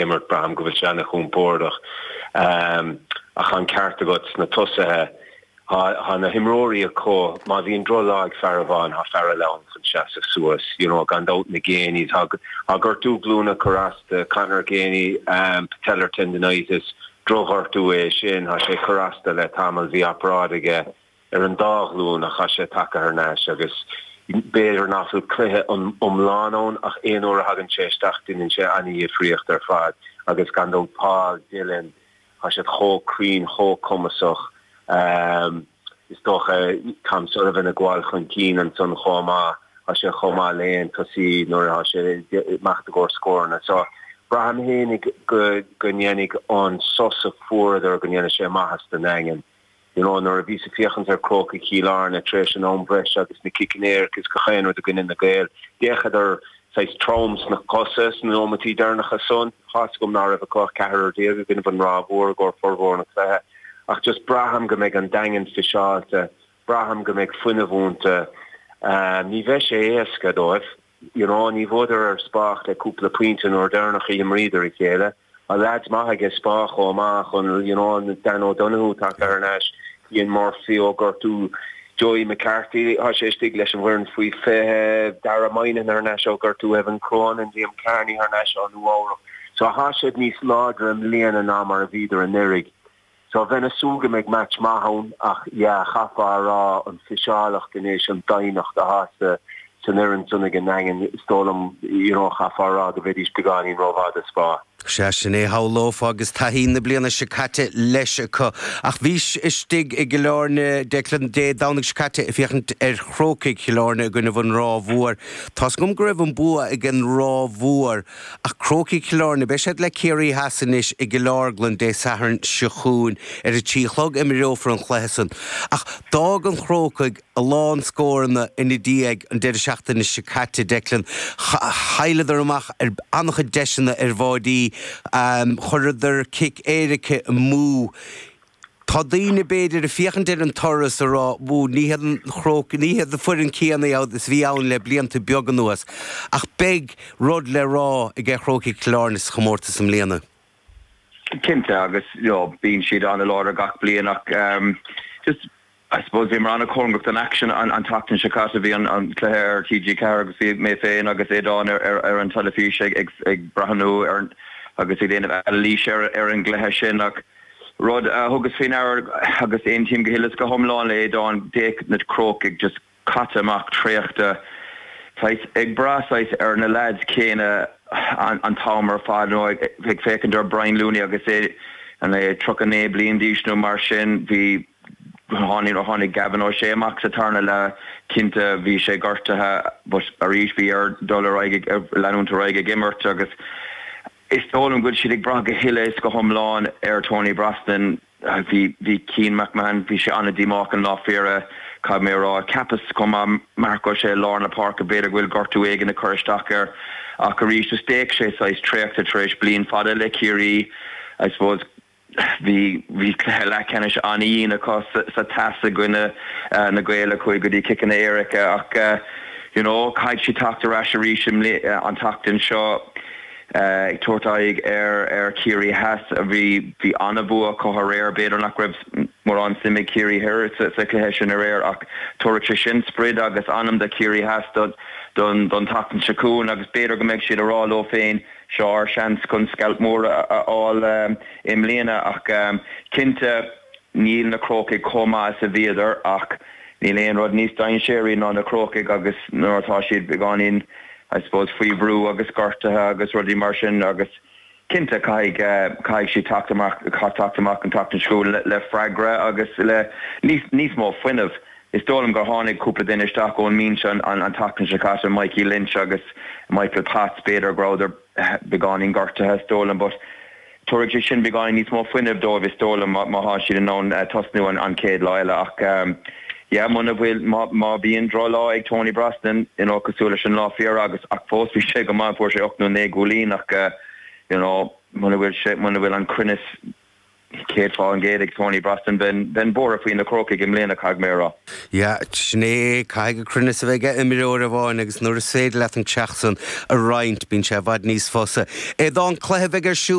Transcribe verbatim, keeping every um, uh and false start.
Imirt, braithim go bhfuil sé ana-chompordach. Ach an ceart agat sna tosaithe, tá na himreoirí acu, má bhíonn drochlá ag fear amháin, tá fear eile ann chun seasamh suas, you know, gan dabht na Geaneys, tá gortú glúine ag cur as do Conor Geaney, patellar tendinitis, drochghortú é sin, tá sé ag cur as dó le tamall, bhí obráid aige ar an dá ghlúin ach tá sé tagtha thar n-ais agus b'fhéidir nach bhfuil cluiche iomlán ann ach aon uair a thagann sé isteach déanann sé an-dhifríocht ar fad agus gan dabht Paul Dillon, tá siad chomh cruinn, chomh cumasach. Is dócha Tom Sullivan ag gabháil chun cinn ansan chomh maith, tá sé chomh maith le haon tosaí nuair atá sé ag imeacht i gcomhair scóranna. So braithim fhéinig go go ndéanfaidh an sos a fuaireadar go ndéanfaidh sé maitheas don nDaingean. You know, nuair a bhíos ag féachaint ar Chrócaigh Chill Airne tar éis an am breise agus na ciceanna éirice is gach aon rud i gcoinne na Gaeil, d'fhéachadar saghas trom sna cosa sna nóimeataí deireanacha san. Tá's agam ná raibh acu ach ceathrar déag i gcoinnibh an Ráth Mhór i gcomhair formhór na cluiche ach just braithim go mbeidh an Daingean fiseáilte, braithim go mbeidh fuinneamh iontu. Ní bheidh sé éasca dóibh. You know, ní bhuadar ar Spa ach le cúpla pointe an uair deireanach a d'imríodar a chéile. Tá leaids maith aige Spa chomh maith chun, you know, Dan O'Donoghue tagtha thar n-ais, Cian Murphy ó gortú, Joey McCarthy, tá sé istigh leis an bhfoireann faoi fiche, Dara Moynihan thar n-ais ó gortú, Evan Cronin, Liam Kearney thar n-ais ó Nua Eabhrac. So tá siad níos láidre i mbliana ná mar a bhíodar anuraidh. So bheinn ag súil go mbeidh match maith ann ach yeah, chaithfeá a rá an fiseálacht anois, an doimhneacht atá sa san fhoireann san ag an nDaingean, is dóigh liom, you know, chaithfeá a rá go mbeidís beagáinín rómhaith do Spa. Sea, sin é, shamhlófá agus taithí na bliana seo caite leis acu. Ach bhís istigh i gCill Airne, Declan, Dé Domhnaigh seo caite ag féachaint ar Chrócaigh Chill Airne i gcoinnibh an Ráth Mhór. Tá's agam go raibh an bua ag an Ráth Mhór Ach Crócaigh Chill Airne, beidh siad le Ciarraí Theas anois i gCill Orglan Dé Sathairn seo chugainn. Ar a trí a chlog imreofar an cluiche san. Ach d'fhág an Chrócaigh a lán scóranna ina diaidh an deireadh seachtaine seo caite, Declan. Chailleadar amach ar an-chuid deiseanna ar bháidí, chuireadar cic éirice amú. Tá daoine, b'fhéidir, ag féachaint ar an toradh is ag rá, Bhú, ní hiad an Chrócaigh, ní hiad an foireann céanna iad is a bhí ann le blianta beaga anuas. Ach beidh rud le rá ag Crócaigh Chill Airne sa chomórtas i mbliana. Cinnte, agus you know, bíonn siad an-láidir gach bliain ach um, just I suppose bhíomar an-chóngarach don aicsean an an tseachtain seo caite, bhí an an cluiche ar T G ceathair agus bhí mé féin agus Aodán ar ar ar an teilifís ag ag ag breathnú ar agus ag déanamh anailís ar ar an gcluiche sin ach rud a thugas faoi ndeara agus aontaím go huile is go hiomlán le Aodán, d'fhéach na Crócaigh just caite amach, traochta, saghas ag brath saghas ar na leaids céanna an t-am ar fad nó ag féachaint ar Brian Looney agus é an é tríocha naoi bliain d'aois nó mar sin, bhí tháinig tháinig Gavin O'Shea amach sa tarna leath, cinnte bhí sé gortaithe but arís bhí air dul ar aghaidh ag leanúint ar aghaidh ag imirt agus Is dóigh liom go bhfuil siad ag brath go huile is go hiomlán ar Tony Brosnan. Bhí bhí Cian McMahon, bhí sé an-díomách an lá fiara, caithfidh mé a rá. Cheapas chomh maith Marc O'Shea i lár na páirce, b'fhéidir go bhfuil gortú éigin ag cur isteach air ach arís is d'fhéach sé saghas traochta tar éis bliain fada le Ciarraí I suppose. Bhí bhí cluiche leathcheannais an-dhian acu sa Theas i gcoinne na Gaeil a chuaigh go dtí ciceanna éirice ach you know caithfidh siad teacht ar ais arís an tseachtain seo ag tabhairt aghaidh ar ar Chiarraí Theas a bhí bhí an-bhua acu aréir. B'fhéidir nach raibh mórán suim ag Ciarraí Thoir sa sa chluiche sin aréir ach tabharfaidh sé sin sprid agus anam do Chiarraí Theas don don don tseachtain seo chugainn agus b'fhéidir go mbeidh siad ag rá leo féin Seo ár seans chun scailp mór a fháil i mbliana ach cinnte níl na Crócaigh chomh maith is a bhíodar ach níl aon rud níos dainséaraí ná na Crócaigh agus nuair atá siad beagáinín I suppose faoi bhrú agus gortaithe agus rudaí mar sin agus cinnte caithfidh caithfidh siad teacht amach teacht amach an tseachtain seo chugainn le freagra agus le níos níos mó fuinnimh. Is dóigh liom gur tháinig cúpla duine isteach ón mbinse an tseachtain seo caite, Mikey Lynch agus Michael Potts, b'fhéidir go rabhadar beagáinín gortaithe is dóigh liom but tabharfaidh sé sin beagáinín níos mó fuinnimh dóibh is dóigh liom má tá siad in ann tosnú an chéad lá eile ach yeah muna bhfuil, má bhíonn drochlá ag Tony Brosnan you know cosúil leis an lá fiara agus ach fós bhí sé go maith fuair sé ocht nó naoi gcúilín ach you know muna bhfuil sé, muna bhfuil an cruinneas céad faoin gcéad ag Tony Brosnan bheinn bheinn buartha faoi na Crócaigh i mbliana caithfidh mé a rá. Ja, sin é caithfidh cruinneas a bheith ag imreoir amháin agus nuair is féidir leat an teach san a roinnt bíonn sé i bhfad níos fusa. É dá an cluiche bheidh ar siúl